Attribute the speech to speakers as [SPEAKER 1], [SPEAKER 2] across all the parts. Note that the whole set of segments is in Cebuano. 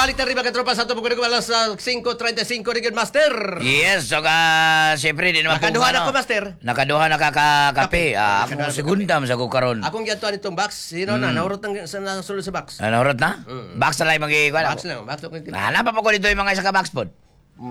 [SPEAKER 1] Balik ta riba, katropa, sa ato pagkunig alas 5:35 rigid, Master.
[SPEAKER 2] Yes, so ka, siyempre, di naman
[SPEAKER 1] Nakaduha
[SPEAKER 2] kung
[SPEAKER 1] na
[SPEAKER 2] ano.
[SPEAKER 1] ko, Master.
[SPEAKER 2] Nakaduha na ka ka kape. Ah,
[SPEAKER 1] Nakaduha
[SPEAKER 2] ako
[SPEAKER 1] na ko
[SPEAKER 2] segunda man sa ko karon.
[SPEAKER 1] Akong giadtuan itong box. Sino na? Nahurot ang sa nasulod sa box.
[SPEAKER 2] Ano nahurot na? Box na lang magi kuan.
[SPEAKER 1] Box lang. Box lang.
[SPEAKER 2] Hanap pa ko dito yung mga isa ka box pod.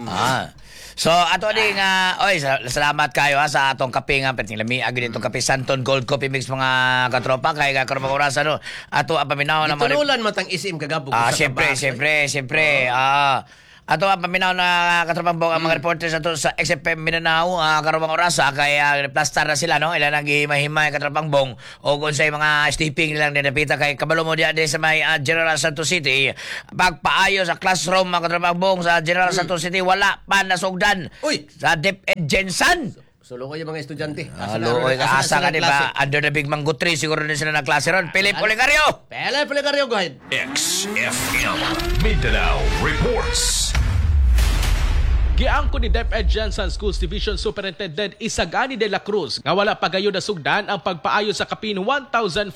[SPEAKER 2] Ah. So ato ding oy, salamat kayo ha sa atong kape nga perting lami agi dito, kape Santon Gold Coffee Mix, mga katropa, kay ka karon mga orasan, no. Ato ang paminaw na mga
[SPEAKER 1] Gitunulan matang isim kagabog.
[SPEAKER 2] Ah,
[SPEAKER 1] sa
[SPEAKER 2] siyempre,
[SPEAKER 1] ka box.
[SPEAKER 2] Siyempre, siyempre. Ah, ato ang paminaw na katropang bong, ang mga reporters ato sa XFM Mindanao karong mga orasa kay plastar na sila, no. Ila nang gihimay-himay, katropang bong, o kung sa mga sleeping nilang dinapita kay kabalo mo diya din sa may General Santos City, pagpaayo sa classroom, mga katropang bong, sa General Santos City wala pa nasugdan.
[SPEAKER 1] Uy!
[SPEAKER 2] Sa DepEd GenSan.
[SPEAKER 1] Sulo ko yung mga estudyante.
[SPEAKER 2] Ah, luoy ka, asa ka, di ba? Under the big mango tree, siguro din sila nagklase ron. Philip Olegario!
[SPEAKER 1] Philip Olegario, go ahead.
[SPEAKER 3] XFM Mindanao reports.
[SPEAKER 4] Giangko ni DepEd GenSan Schools Division Superintendent Isagani de la Cruz nga wala pa gayud nasugdan ang pagpaayo sa kapin 1,472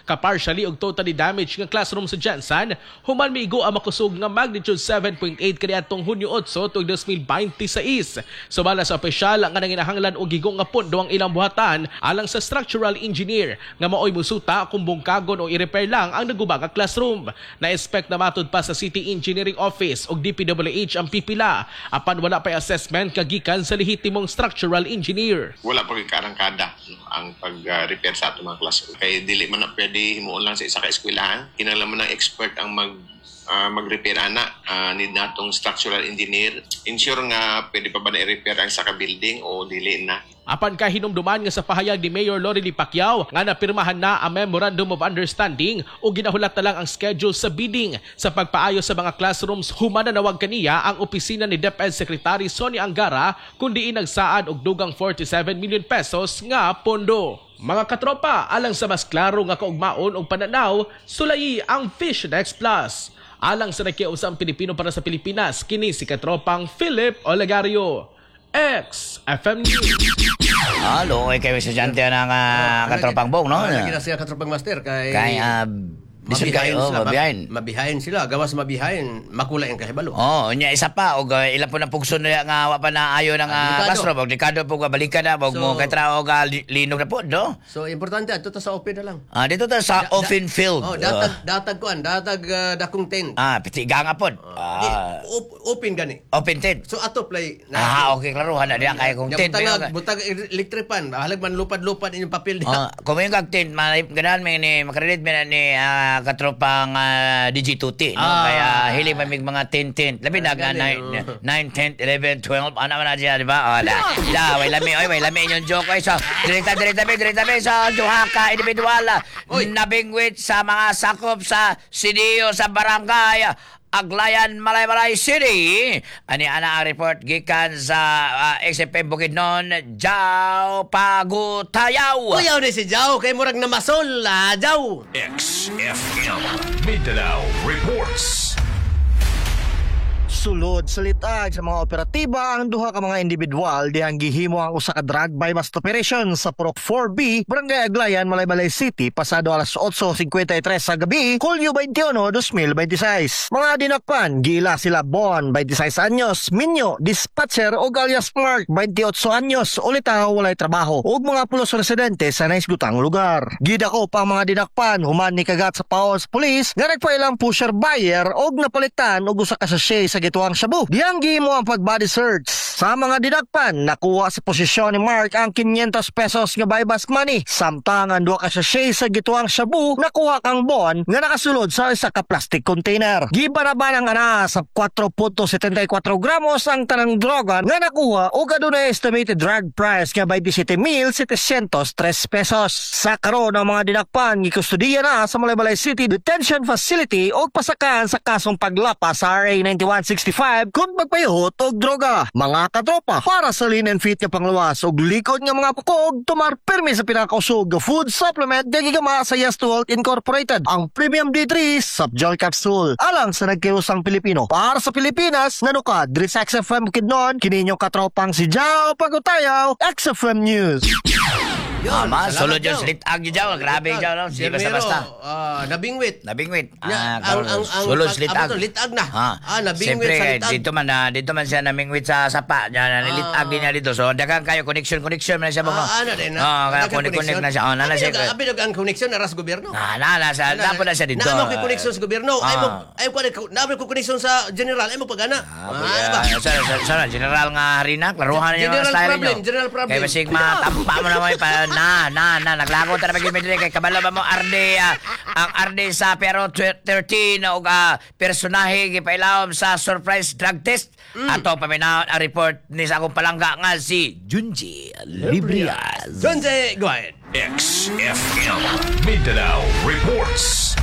[SPEAKER 4] ka partially ug totally damaged nga classroom sa GenSan human miigo ang makusog nga magnitude 7.8 kaniadtong Hunyo 8 tuig 2026. Sumala sa opisyal nga nanginahanglan og gigo nga pondo ang ilang buhatan alang sa structural engineer nga maoy musuta kung bungkagon o i-repair lang ang naguba nga classroom. Na-expect na matud pa sa City Engineering Office ug DPWH ang pipila apan wala pa assessment kagikan sa lehitimong structural engineer.
[SPEAKER 5] Wala pa karangkada, no, ang pag-repair sa atong mga classroom. Kay dili man na pwede himuon lang sa isa ka eskwelahan. Kinahanglan man ng expert ang mag-repair ana. Need natong structural engineer. Ensure nga pwede pa ba na i-repair ang sa ka building o dili na.
[SPEAKER 4] Apan kahinumduman nga sa pahayag ni Mayor Lorely Pacquiao nga napirmahan na ang Memorandum of Understanding o ginahulat na lang ang schedule sa bidding sa pagpaayo sa mga classrooms human nanawag kaniya ang opisina ni DepEd Secretary Sonny Angara kung diin nagsaad og dugang 47 million pesos nga pondo. Mga katropa, alang sa mas klaro nga kaugmaon og pananaw, sulayi ang Fishnex Plus. Alang sa nakiusang Pilipino para sa Pilipinas, kini si katropang Philip Olegario. XFM News.
[SPEAKER 2] Ah, luoy kayo estudyante ng katropang bong, no?
[SPEAKER 1] Lagi na siya, katropang Master, kay
[SPEAKER 2] Kay, lisod
[SPEAKER 1] mabihain
[SPEAKER 2] kayo, oh,
[SPEAKER 1] sila,
[SPEAKER 2] mabihain.
[SPEAKER 1] Mabihain sila. Gawas mabihain, makula yung kahibalo.
[SPEAKER 2] Oh, unya isa pa og ila po na pugson na nga wa pa na ayo ng
[SPEAKER 1] Ah, delikado.
[SPEAKER 2] classroom og delikado po nga balikan na og mo kay trao ga linog na po, no?
[SPEAKER 1] So, importante, ato ta sa open na lang.
[SPEAKER 2] Ah, dito ta sa open field.
[SPEAKER 1] Oh, datag, datag kuan, datag dakong tent.
[SPEAKER 2] Ah, piti ganga pod.
[SPEAKER 1] Di,
[SPEAKER 2] Ah,
[SPEAKER 1] open gani.
[SPEAKER 2] Open tent.
[SPEAKER 1] So ato play.
[SPEAKER 2] Ah, okay, klaro hana diya kay kung
[SPEAKER 1] Nya
[SPEAKER 2] tent.
[SPEAKER 1] butangag, butang electric fan, halag man lupad-lupad inyong papel diha.
[SPEAKER 2] Oh, kung may kag tent, ganahan may ni makarelate mi na ni katropang DJ2T, no?
[SPEAKER 1] Ah.
[SPEAKER 2] Kaya hili man mig mga tent tent. Labi na
[SPEAKER 1] Gani,
[SPEAKER 2] 9 9 10 11 12 ana man na siya, di ba? Oh, da. Da, way lami, oy, way lami inyong joke, oy. So, direkta direkta be, direkta be sa duha ka individual
[SPEAKER 1] Oy.
[SPEAKER 2] nabingwit sa mga sakop sa CDO sa barangay Aglayan, Malaybalay City. Ani ana ang report gikan sa XFM Bukidnon, Jao Pagutayaw.
[SPEAKER 1] Kuyaw ni si Jao kay murag namasol, ah, Jao.
[SPEAKER 3] XFM Mindanao reports.
[SPEAKER 6] Sulod sa litag sa mga operatiba ang duha ka mga individual dihang gihimo ang usa ka drug buy bust operation sa Purok 4B, Barangay Aglayan, Malaybalay City pasado alas 8:53 sa gabi, Hulyo 21, 2026. Mga dinakpan, giila sila Bon, 26 anyos, Minyo, dispatcher og alias Mark, 28 anyos, ulitaw walay trabaho ug mga pulos residente sa naisgutang lugar. Gidakop ang mga dinakpan human ni kagat sa paos police nga nagpailang pusher buyer og napalitan og usa ka sachet sa gituang shabu. Diyang gihimo ang pag-body search. Sa mga dinakpan, nakuha sa posisyon ni Mark ang 500 pesos nga buy-bust money. Samtang ang duha ka sachet sa gituang shabu nakuha kang Bon nga nakasulod sa isa ka plastic container. Gibanaban ang ana sa 4.74 gramos ang tanang droga nga nakuha og adunay estimated drug price nga 27,703 pesos. Sa karon, ang mga dinakpan gikustudiya na sa Malaybalay City Detention Facility og pasakan sa kasong paglapas sa RA 9165 kung magpayuhot og droga. Mga katropa, para sa lean and fit nga panglawas og likod nga mga pukog, tumar pirmi sa pinakausog nga food supplement nga gigama sa Yes to Health Incorporated, ang Premium D3 Subgel Capsule. Alang sa nagkiusang Pilipino. Para sa Pilipinas, nanuka, diri sa XFM Bukidnon, kini inyong katropang si Jao Pagutayaw, XFM News.
[SPEAKER 1] Yun,
[SPEAKER 2] Ama,
[SPEAKER 1] salamat
[SPEAKER 2] sulod yung
[SPEAKER 1] daw.
[SPEAKER 2] slitag yun dyan. Grabe dyan, no? Hindi
[SPEAKER 1] Sir
[SPEAKER 2] basta-basta.
[SPEAKER 1] Mero, nabingwit.
[SPEAKER 2] Nabingwit.
[SPEAKER 1] Nya,
[SPEAKER 2] Ah,
[SPEAKER 1] ang
[SPEAKER 2] sulod slitag.
[SPEAKER 1] abot, litag na. Ah, nabingwit
[SPEAKER 2] Siyempre,
[SPEAKER 1] sa litag.
[SPEAKER 2] dito man siya namingwit sa sapa. Nya, nilitag din niya dito. So, daghang kayo connection, connection man siya mo.
[SPEAKER 1] Ah, ano din.
[SPEAKER 2] Ah, kaya
[SPEAKER 1] Daghang
[SPEAKER 2] connect, connect na siya. Oh, nana siya.
[SPEAKER 1] Abi ang connection aras gobyerno.
[SPEAKER 2] Na, nasa, napo na siya dito.
[SPEAKER 1] Naamo kay connection sa gobyerno. Ay mo ay ko naamo ko connection sa general ay mo pagana.
[SPEAKER 2] Ah, sa general nga harina, klaruhan niyo ang
[SPEAKER 1] General
[SPEAKER 2] style
[SPEAKER 1] problem,
[SPEAKER 2] niyo.
[SPEAKER 1] general problem.
[SPEAKER 2] Kay basig matampa mo na mo pa na na na naglago ta na pag kay kabalo ba mo arde ang arde sa pero 13 og personahe gipailawom sa surprise drug test. Ato paminaw ang report ni sa akong palangga nga si Junji Librias.
[SPEAKER 1] Jonze, go ahead.
[SPEAKER 3] XFM Mindanao Reports.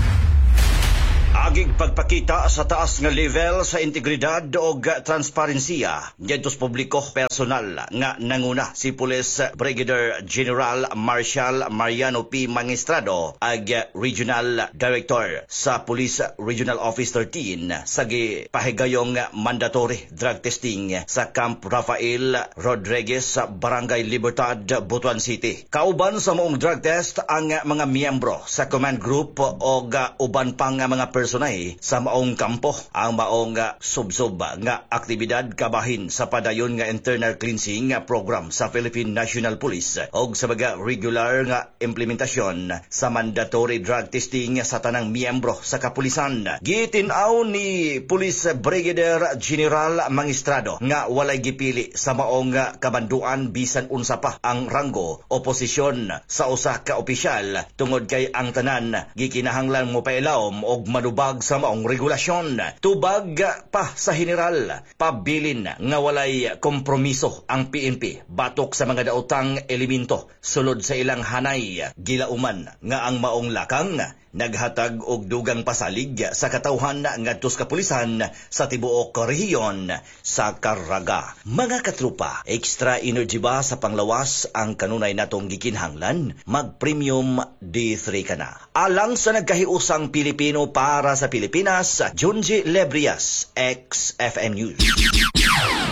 [SPEAKER 7] Agig pagpakita sa taas nga level sa integridad og transparensiya ngadto sa publiko personal nga nanguna si Police Brigadier General Marshal Mariano P. Mangistrado ag Regional Director sa Police Regional Office 13 sa gipahigayong mandatory drug testing sa Camp Rafael Rodriguez sa Barangay Libertad, Butuan City. Kauban sa maong drug test ang mga miyembro sa command group og uban pang mga personay sa maong kampo. Ang maong subsob nga aktibidad kabahin sa padayon nga internal cleansing program sa Philippine National Police og sa mga regular nga implementasyon sa mandatory drug testing sa tanang miyembro sa kapulisan. Gitin-aw ni Police Brigadier General Mangistrado nga walay gipili sa maong kabanduan bisan unsa pa ang ranggo o posisyon sa usa ka opisyal tungod kay ang tanan gikinahanglan mo pailawom og manubag sa maong regulasyon. Tubag pa sa general, pabilin nga walay kompromiso ang PNP batok sa mga daotang elemento sulod sa ilang hanay. Gilauman nga ang maong lakang naghatag og dugang pasalig sa katawhan ngadto sa kapulisan sa tibuok rehiyon sa Caraga. Mga katrupa, extra energy ba sa panglawas ang kanunay natong gikinhanglan? Mag-premium D3 ka na. Alang sa nagkahiusang Pilipino para sa Pilipinas, Junji Lebrias, XFM News.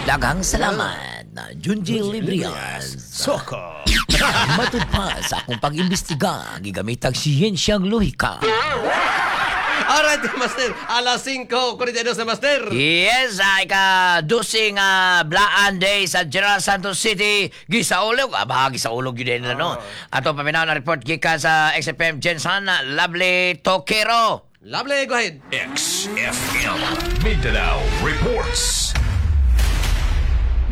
[SPEAKER 2] Daghang salamat na Junji Librias.
[SPEAKER 1] Soko.
[SPEAKER 2] Matud pa sa akong pag-imbestiga, gigamitag siyensyang lohika.
[SPEAKER 1] Alright, Master. Alas 5:42 na, Master.
[SPEAKER 2] Yes, ay ka dusing Blaan Day sa General Santos City. Gisaulog. Aba, gisaulog yun din no. Ato paminaw na report gikan sa XFM Jensen, Lovely Tokero.
[SPEAKER 1] Lovely, go ahead.
[SPEAKER 3] XFM Mindanao Reports.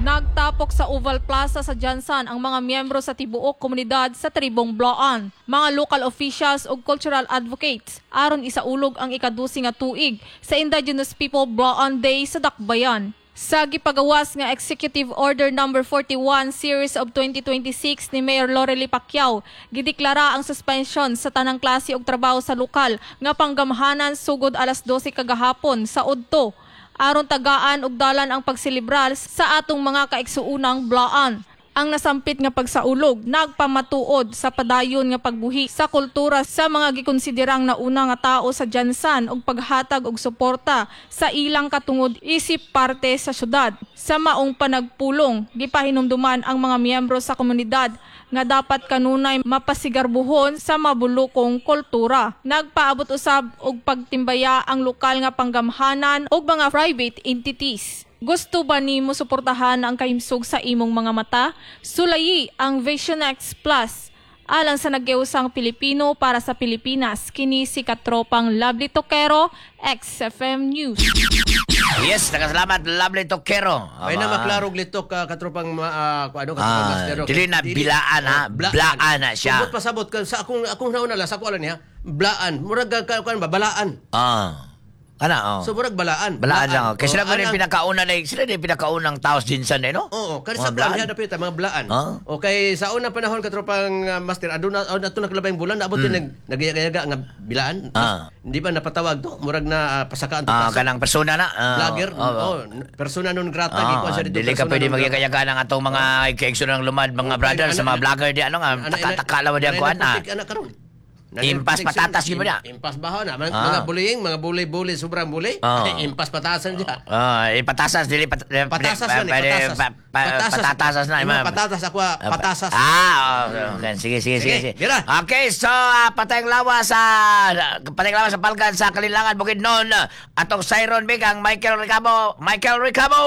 [SPEAKER 8] Nagtapok sa Oval Plaza sa Jansan ang mga miyembro sa tibuok komunidad sa Tribong Blaan, mga local officials ug cultural advocates aron isaulog ang ikadusi nga tuig sa Indigenous People Blaan Day sa Dakbayan. Sa gipagawas nga Executive Order Number 41 Series of 2026 ni Mayor Lorely Pacquiao, gideklara ang suspension sa tanang klase og trabaho sa lokal nga panggamhanan sugod alas 12 kagahapon sa udto aron tagaan og dalan ang pagselebrar sa atong mga kaigsuonang Blaan. Ang nasampit nga pagsaulog nagpamatuod sa padayon nga pagbuhi sa kultura sa mga gikonsiderang nauna nga tao sa Jansan ug paghatag og suporta sa ilang katungod isip parte sa syudad. Sa maong panagpulong, gipahinumduman ang mga miyembro sa komunidad nga dapat kanunay mapasigarbuhon sa mabulukong kultura. Nagpaabot usab og pagtimbaya ang lokal nga panggamhanan ug mga private entities. Gusto ba nimo suportahan ang kahimsog sa imong mga mata? Sulayi ang Vision X Plus. Alang sa nagyusang Pilipino para sa Pilipinas, kini si katropang Lovely Tokero, XFM News.
[SPEAKER 2] Yes, nakasalamat Lovely Tokero.
[SPEAKER 1] Ay na maklarog litok ka katropang ano katropang Master.
[SPEAKER 2] Dili na bilaan ha, blaan na siya.
[SPEAKER 1] Subot pasabot ka sa akong nauna la sa ako alam niya. Blaan, murag ka kuan ba balaan.
[SPEAKER 2] Ana, oh.
[SPEAKER 1] So murag balaan.
[SPEAKER 2] Balaan siya. Kasi sila
[SPEAKER 1] Oh,
[SPEAKER 2] ko rin pinakauna na, sila rin pinakaunang taos dinsan eh, no?
[SPEAKER 1] Oo, kani
[SPEAKER 2] Mga
[SPEAKER 1] sa
[SPEAKER 2] blaan.
[SPEAKER 1] kuan niya dapit mga blaan.
[SPEAKER 2] Ah.
[SPEAKER 1] Okay, sa unang panahon katropang Master aduna adto na kalabayng bulan naabot din nagyaga nga bilaan. Hindi ba napatawag to? Murag na pasakaan to.
[SPEAKER 2] Kanang persona na.
[SPEAKER 1] Vlogger. Oh, persona non grata gikuan siya dito.
[SPEAKER 2] Dili ka pwede magyagayaga ng atong mga kaigso ng lumad, mga brother sa mga vlogger di ano nga taka-taka lang di ang kuan
[SPEAKER 1] Anak karon.
[SPEAKER 2] Impas patatas gyud ba na?
[SPEAKER 1] Impas ba na? Mga bullying, mga bully-bully, sobrang bully. Impas patasan siya.
[SPEAKER 2] Patasas dili
[SPEAKER 1] Patasas man eh, patasas. Patasas.
[SPEAKER 2] Patatasas na,
[SPEAKER 1] Ima,
[SPEAKER 2] ma'am.
[SPEAKER 1] patatas ako, patasas.
[SPEAKER 2] Okay. Sige, sige, sige,
[SPEAKER 1] Sige,
[SPEAKER 2] sige.
[SPEAKER 1] dira.
[SPEAKER 2] Okay, so patayng lawa sa Palgan sa Kalilangan Bukidnon. Atong Siron Big ang Michael Ricamo. Michael Ricamo.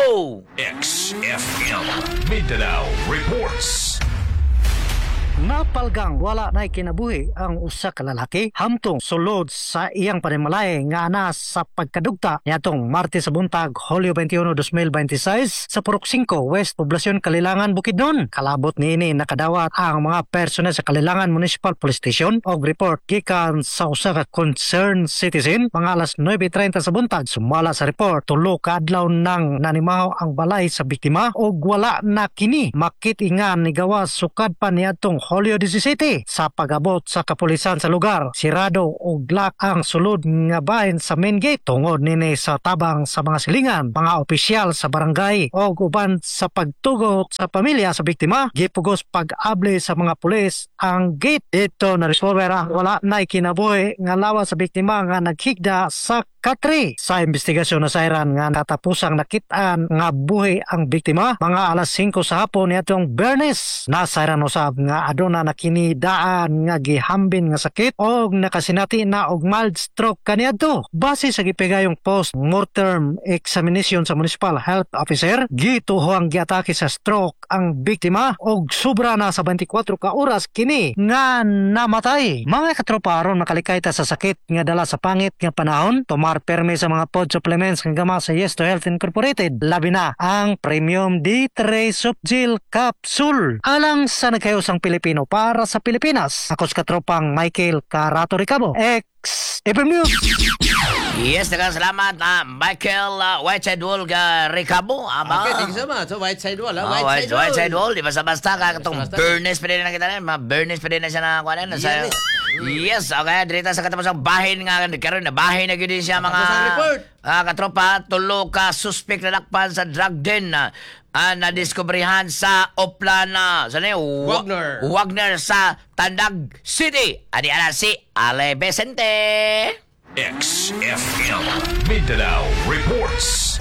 [SPEAKER 3] XFM Mindanao Reports.
[SPEAKER 9] Napalgang wala na kinabuhi ang usa ka lalaki hamtong sulod sa iyang panimalay nga ana sa pagkadugta niadtong Martes sa buntag, Hulyo 21, 2026 sa Purok 5, West Poblacion, Kalilangan, Bukidnon. Kalabot niini nakadawat ang mga personnel sa Kalilangan Municipal Police Station og report gikan sa usa ka concerned citizen mga alas 9:30 sa buntag. Sumala sa report, 3 ka adlaw nang nanimaho ang balay sa biktima og wala na kini makit-ingan ni gawas sukad pa niadtong Hulyo 17. Sa pag-abot sa kapulisan sa lugar, sirado og lock ang sulod nga bahin sa main gate. Tungod nini sa tabang sa mga silingan, mga opisyal sa barangay og uban sa pagtugot sa pamilya sa biktima, gipugos pag-abli sa mga pulis ang gate. Dito na resolver ang wala na kinabuhi nga lawas sa biktima nga naghigda sa katre. Sa investigasyon na sayran nga natapusang nakitaan nga buhi ang biktima mga alas 5 sa hapon niadtong Biyernes. Nasayran usab nga aduna na kini daan nga gihambin nga sakit og nakasinati na og mild stroke kaniadto. Base sa gipigayong post-mortem examination sa Municipal Health Officer, gituho ang giatake sa stroke ang biktima og sobra na sa 24 ka oras kini nga namatay. Mga katropa, aron makalikay ta sa sakit nga dala sa pangit nga panahon, tumar permi sa mga pod supplements nga gama sa Yes to Health Incorporated. Labi na ang Premium D3 Softgel Capsule. Alang sa nagkayosang Pilipino para sa Pilipinas. Ako sa katropang Michael Carato Ricabo, XFM News.
[SPEAKER 2] Yes, daghang salamat Michael Whiteside Wall ga Ricamo. Ama.
[SPEAKER 1] Okay, thank you so much. So, White Side Wall, ha?
[SPEAKER 2] Oh,
[SPEAKER 1] White Side Wall.
[SPEAKER 2] White Side Wall, di basta-basta ka katong
[SPEAKER 1] Basta-basta.
[SPEAKER 2] Bernes pa din na kita na, mga Bernes pa din na siya na kuha na.
[SPEAKER 1] Yes.
[SPEAKER 2] Yes, okay, direta sa katapos ang bahin nga karon na bahin na gyud siya mga
[SPEAKER 1] Katapos ang report.
[SPEAKER 2] Katropa, 3 ka suspect na dakpan sa drug den na nadiskobrehan sa Oplana. Sa ni
[SPEAKER 1] Wagner.
[SPEAKER 2] Wagner sa Tandag City. Ani ana si Ale Vicente.
[SPEAKER 3] XFM Mindanao Reports.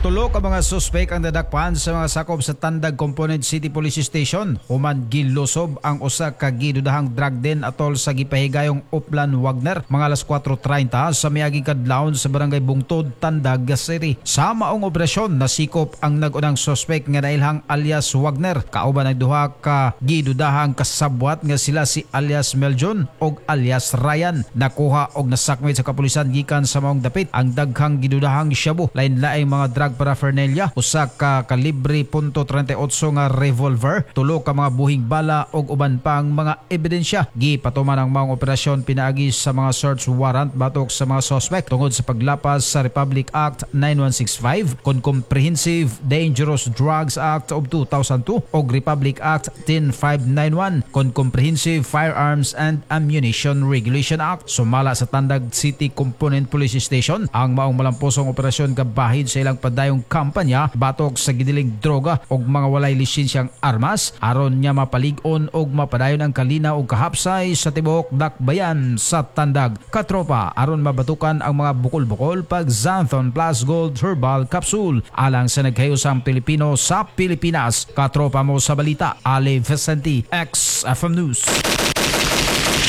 [SPEAKER 10] 3 ka mga suspek ang dadakpan sa mga sakop sa Tandag Component City Police Station. Human gilusob ang usa ka gidudahang drug den atol sa gipahigayong Uplan Wagner mga alas 4:30 sa miaging kadlawon sa Barangay Bungtod, Tandag City. Sa maong operasyon nasikop ang nag-unang suspek nga nailhang alias Wagner kauban ang duha ka gidudahang kasabwat nga sila si alias Meljon og alias Ryan. Nakuha og nasakmit sa kapulisan gikan sa maong dapit ang daghang gidudahang shabu, lain-laing mga drug paraphernalia, usa ka kalibre .38 nga revolver, 3 ka mga buhing bala og uban pang mga ebidensya. Gipatuman ang maong operasyon pinaagi sa mga search warrant batok sa mga suspect tungod sa paglapas sa Republic Act 9165 kon Comprehensive Dangerous Drugs Act of 2002 og Republic Act 10591 kon Comprehensive Firearms and Ammunition Regulation Act. Sumala sa Tandag City Component Police Station ang maong malamposong operasyon kabahid sa ilang padayong kampanya batok sa gidiling droga og mga walay lisensyang armas aron niya mapalig-on og mapadayon ang kalina og kahapsay sa tibuok dakbayan sa Tandag. Katropa, aron mabatukan ang mga bukol-bukol pag Xanthon Plus Gold Herbal Capsule alang sa nagkayusang Pilipino sa Pilipinas. Katropa mo sa balita, Ale Vicente, XFM News.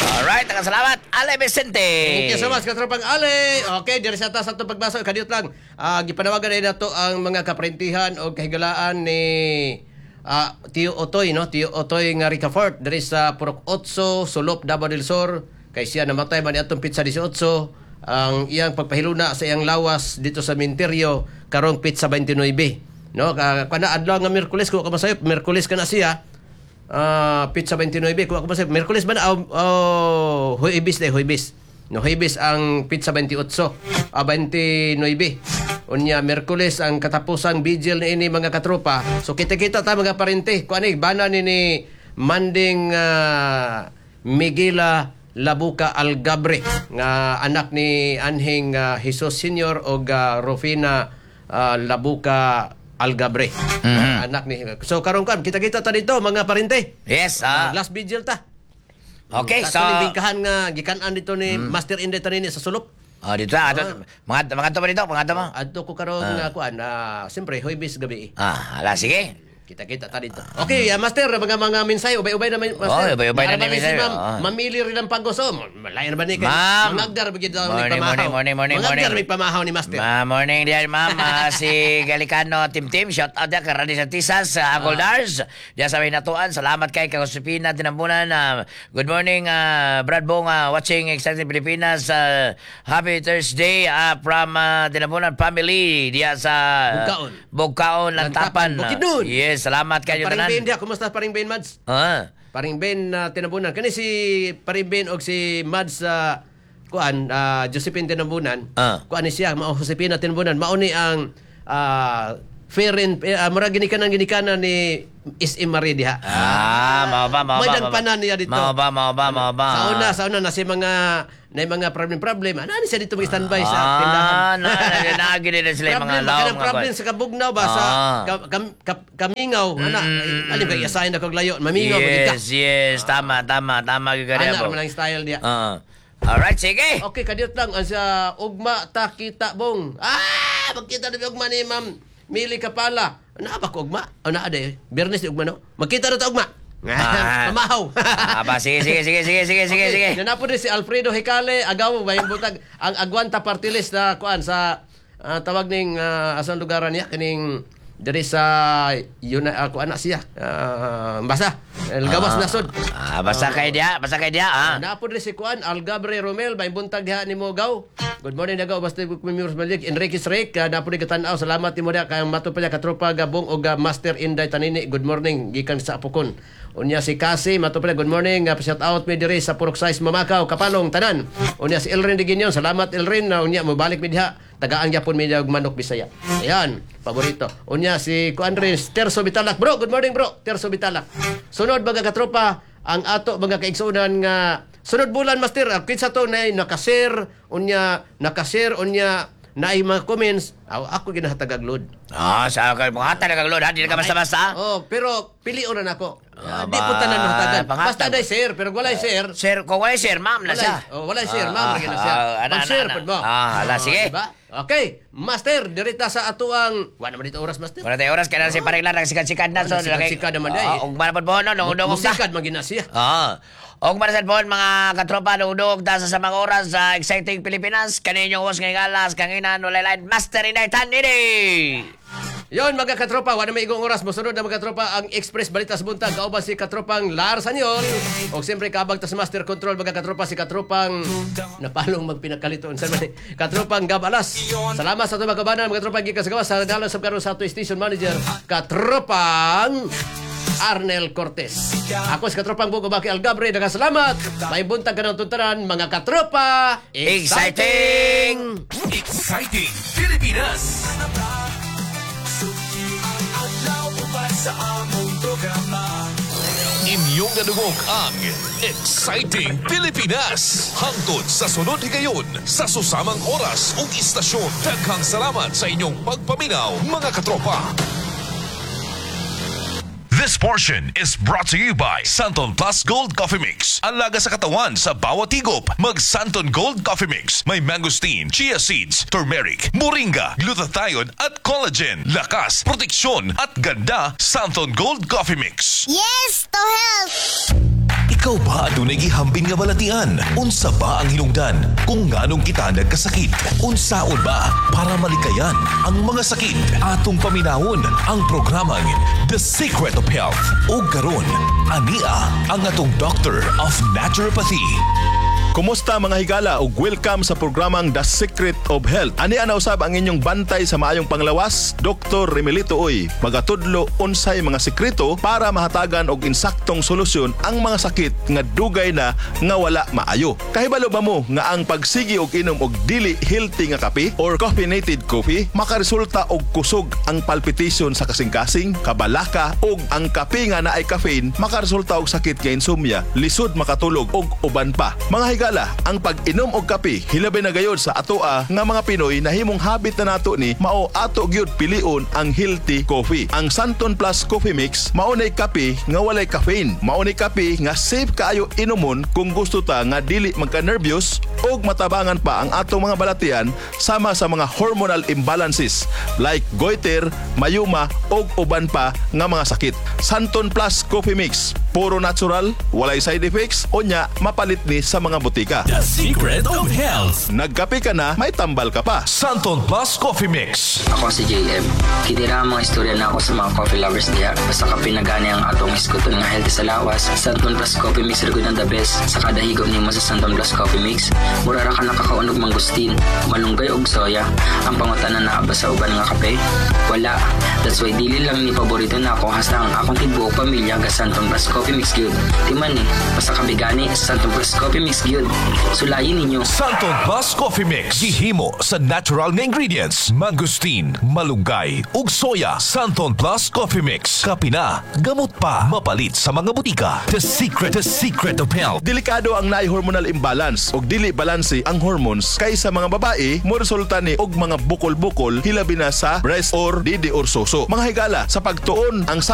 [SPEAKER 2] Alright, daghang salamat Ale Vicente.
[SPEAKER 1] Thank you so much, katropang Ale. Okay, diri sa taas atong pagbasa. Kadiyot lang. Gipanawagan na nato ang mga kaprentihan o kahigalaan ni Tio Otoy, no? Tio Otoy nga Ricafort diri sa Purok 8, Sulop, Davao del Sur. Kay siya namatay man atong pitsa 18. Ang iyang pagpahiluna sa iyang lawas dito sa Minteryo karong pitsa 29. No, kana adlaw nga Miyerkules ko ka masayop, Miyerkules kana siya. Pizza 29 kung ako masayop, Miyerkules ba na? Oh, Huwebes na, Huwebes. No, Huwebes ang pizza 28, 29. Unya Miyerkules ang katapusang vigil ni ini mga katropa. So kita-kita ta mga parente. Kuan ni bana ni Manding Miguela Labuca Algabre nga anak ni Anhing Jesus Senior og Rufina Labuca Algabre. Anak ni. So karon kan kita-kita ta dito mga parente.
[SPEAKER 2] Yes,
[SPEAKER 1] Last vigil ta.
[SPEAKER 2] Okay, so
[SPEAKER 1] Kato ni bingkahan nga gikan-an dito ni Master Inday Tanini sa sulop.
[SPEAKER 2] Oh, dito na. Ato, mga mga to dito, mga to mo.
[SPEAKER 1] Adto ko karon nga kuan, siyempre Huwebes gabi.
[SPEAKER 2] Ah, ala, sige.
[SPEAKER 1] Kita-kita ta dito. Okay, Master, mga minsay, ubay-ubay na Master.
[SPEAKER 2] Oh, ubay-ubay na
[SPEAKER 1] Naaraman
[SPEAKER 2] ni
[SPEAKER 1] si
[SPEAKER 2] minsay,
[SPEAKER 1] Ma'am,
[SPEAKER 2] oh.
[SPEAKER 1] Mamili rin ang pagos. Oh, malayo na ba ni kay?
[SPEAKER 2] Ma'am.
[SPEAKER 1] Mangagdar ba gid daw ni
[SPEAKER 2] Morning,
[SPEAKER 1] pamahaw.
[SPEAKER 2] morning, morning, morning,
[SPEAKER 1] Mangagdar
[SPEAKER 2] morning.
[SPEAKER 1] may pamahaw ni Master.
[SPEAKER 2] Ma, morning diyan, ma'am. Si Galicano Tim Tim, shout out diyan kay Randy Santisas, sa Uncle Dars. Diyan sa may natuan. Salamat kay kay Josefina Tinambunan. Good morning, Brad Bong, watching Exciting Pilipinas. Happy Thursday from Tinambunan family diyan sa
[SPEAKER 1] Bugkaon.
[SPEAKER 2] Bugkaon, Lantapan.
[SPEAKER 1] Lantapan, Bukidnon.
[SPEAKER 2] Yes, salamat kayo
[SPEAKER 1] Paring
[SPEAKER 2] tanan.
[SPEAKER 1] Ben diya, kumusta paring Ben Mads? Paring Ben na Tinabunan. Kani si Paring Ben og si Mads sa kuan Josephine Tinabunan. Kuan ni siya mao Josefina Tinabunan. Mao ni ang Feren murag ginikanan ginikanan ni SM Marie diha.
[SPEAKER 2] Ah, mao ba, mao ba.
[SPEAKER 1] May
[SPEAKER 2] mao ba.
[SPEAKER 1] dagpanan niya dito.
[SPEAKER 2] Mao ba, mao ba, mao ba.
[SPEAKER 1] Sa una na si mga na mga problem problem. Ano ni siya dito mag-standby sa tindahan.
[SPEAKER 2] Ah, na, na, na, na sila yung mga
[SPEAKER 1] Problem,
[SPEAKER 2] laom.
[SPEAKER 1] kanang problem sa kabugnaw ba sa kamingaw ana alim kay assign ako layo mamingaw magid ka.
[SPEAKER 2] Yes, tama, tama, tama gyud ka
[SPEAKER 1] Ana
[SPEAKER 2] bo.
[SPEAKER 1] man ang style niya.
[SPEAKER 2] Alright, sige.
[SPEAKER 1] Okay, kadiyot lang ang sa ugma ta kita bong. Ah, magkita na ugma ni Ma'am Mili Kapala. Naa ba ko ugma? O naa day. Biyernes ni ugma no. Magkita na ta ugma. Mamahaw.
[SPEAKER 2] Aba, sige, sige, sige, sige, sige, sige, sige.
[SPEAKER 1] Nanapod rin si Alfredo Hecale, agaw may butag ang Aguanta Party List na kuan sa tawag ning asang lugaran niya kining diri sa yun kuan na siya. Basta El Gawas Nasod.
[SPEAKER 2] Ah, basta kay dia, basta kay dia, ah.
[SPEAKER 1] Napod rin si kuan Algabre Romel may buntag diha nimo gaw. Good morning nagaw basta kumimurs malik Enrique Srek napod rin katan-aw salamat nimo diha kay mato pa niya katropa gabong og Master Inday Tanini. Good morning gikan sa Apokon. Unya si Kasi mato pa niya, good morning shout out mi diri sa Purok Size Mamakaw Kapalong tanan. Unya si Elrin de Guiñon, salamat Elrin na unya mobalik mi diha tagaan gyapon mi diha og manok Bisaya. Ayan, paborito. Unya si kuan rin Terso Bitalak. Bro, good morning bro. Terso Bitalak. Sunod mga katropa, ang ato mga kaigsuonan nga sunod bulan master kinsa to na nakashare unya nakashare unya naay mga comments aw, ako ginahatagag load.
[SPEAKER 2] Ah, sa kay mga talaga load, ha, di ka basta-basta.
[SPEAKER 1] Oh, pero pilion na nako.
[SPEAKER 2] Ah,
[SPEAKER 1] Di po tanan hatagan.
[SPEAKER 2] pangatag.
[SPEAKER 1] Basta day share pero walay share.
[SPEAKER 2] Share kung walay share, ma'am na siya.
[SPEAKER 1] Oh, walay share, ma'am lagi na siya.
[SPEAKER 2] Ana,
[SPEAKER 1] Mag-share
[SPEAKER 2] ana,
[SPEAKER 1] pud mo.
[SPEAKER 2] Ah, ala,
[SPEAKER 1] Oh,
[SPEAKER 2] sige.
[SPEAKER 1] diba? Okay, master, dirita sa atuang wa naman dito oras master.
[SPEAKER 2] Wala tayo oras, kailangan si paring lang, nagsikat-sikat na. So,
[SPEAKER 1] Nagsikat-sikat naman day.
[SPEAKER 2] Ah, ug man po, no, nung ta.
[SPEAKER 1] Musikat man gina siya.
[SPEAKER 2] Ah. Og marasan po mga katropa, dugdug ta sa mga oras sa Exciting Pilipinas. Kaninyong host ngayong alas, kanginan, walay line, Master Inday Tanini!
[SPEAKER 1] Yon mga katropa, wala may igong oras. Mosunod na mga katropa ang Express Balita sa Buntag. Kauban si katropang Lars Anyol. O siyempre kaabag ta sa Master Control mga katropa si katropang napalong magpinakalito unsa man ni? Katropang Gab Alas. Salamat sa atong mga kabanan mga katropa gikan sa gawas sa dalan sa karon sa ato station manager katropang Arnel Cortez. Ako si Katropang Bugo Baki Algabre. Daghang salamat. May buntag ka ng tuntaran, mga katropa.
[SPEAKER 2] Exciting!
[SPEAKER 3] Exciting Pilipinas! Inyong nadungog ang Exciting Pilipinas! Hangtod sa sunod higayon sa susamang oras ug istasyon. Daghang salamat sa inyong pagpaminaw, mga katropa. This portion is brought to you by Santon Plus Gold Coffee Mix. Alaga sa katawan sa bawat higop. Mag Santon Gold Coffee Mix. May mangosteen, chia seeds, turmeric, moringa, glutathione at collagen. Lakas, proteksyon at ganda. Santon Gold Coffee Mix.
[SPEAKER 11] Yes to health!
[SPEAKER 3] Ikaw ba adunay gihambin nga balatian? Unsa ba ang hinungdan kung nganong kita nagkasakit? Unsaon ba para malikayan ang mga sakit? Atong paminawon ang programang The Secret of Health. O karon, ania ang atong Doctor of Naturopathy.
[SPEAKER 12] Kumusta mga higala ug welcome sa programang The Secret of Health. Ani ana usab ang inyong bantay sa maayong panglawas, Dr. Remelito Uy. Magatudlo unsay mga sekreto para mahatagan og insaktong solusyon ang mga sakit nga dugay na nga wala maayo. Kahibalo ba mo nga ang pagsigi og inom og dili healthy nga kape or caffeinated coffee makaresulta og kusog ang palpitation sa kasing-kasing, kabalaka ug ang kape nga naay caffeine makaresulta og sakit nga insomnia, lisod makatulog ug uban pa. Mga higala, higala, ang pag-inom og kape, hilabi na gayod sa atoa nga mga Pinoy, nahimong habit na nato ni, mao ato gyud pilion ang healthy coffee. Ang Santon Plus Coffee Mix mao nay kape nga walay caffeine. Mao ni kape nga safe kaayo inumon kung gusto ta nga dili magka-nervyos og matabangan pa ang atong mga balatian sama sa mga hormonal imbalances like goiter, mayuma og uban pa nga mga sakit. Santon Plus Coffee Mix, puro natural, walay side effects, unya mapalit ni sa mga botika.
[SPEAKER 3] The Secret of Health.
[SPEAKER 12] Nagkape ka na, may tambal ka pa.
[SPEAKER 3] Santon Plus Coffee Mix.
[SPEAKER 11] Ako si JM. Kini ra ang mga istorya na ako sa mga coffee lovers diha. Basta kape na gani ang atong hisguton nga healthy sa lawas. Santon Plus Coffee Mix ra gud ang the best. Sa kada higop nimo sa Santon Plus Coffee Mix, mura ra ka nakakaon og mangustin, malunggay og soya. Ang pangutana, naa ba sa uban nga kape? Wala. That's why dili lang ni paborito nako, hasta ang akong tibuok pamilya ga Santon Plus Coffee Mix gyud. Timan ni, basta kape gani, Santon Plus Coffee Mix gyud. Sulayin ninyo.
[SPEAKER 3] Santon Plus Coffee Mix. Gihimo sa natural nga ingredients. Mangosteen, malunggay, ug soya. Santon Plus Coffee Mix. Kape na, gamot pa. Mapalit sa mga botika. The secret of health.
[SPEAKER 12] Delikado ang naay hormonal imbalance og dili balanse ang hormones kay sa mga babae mo resulta ni og mga bukol-bukol, hilabi na sa breast or didi or suso. Mga higala, sa pagtuon ang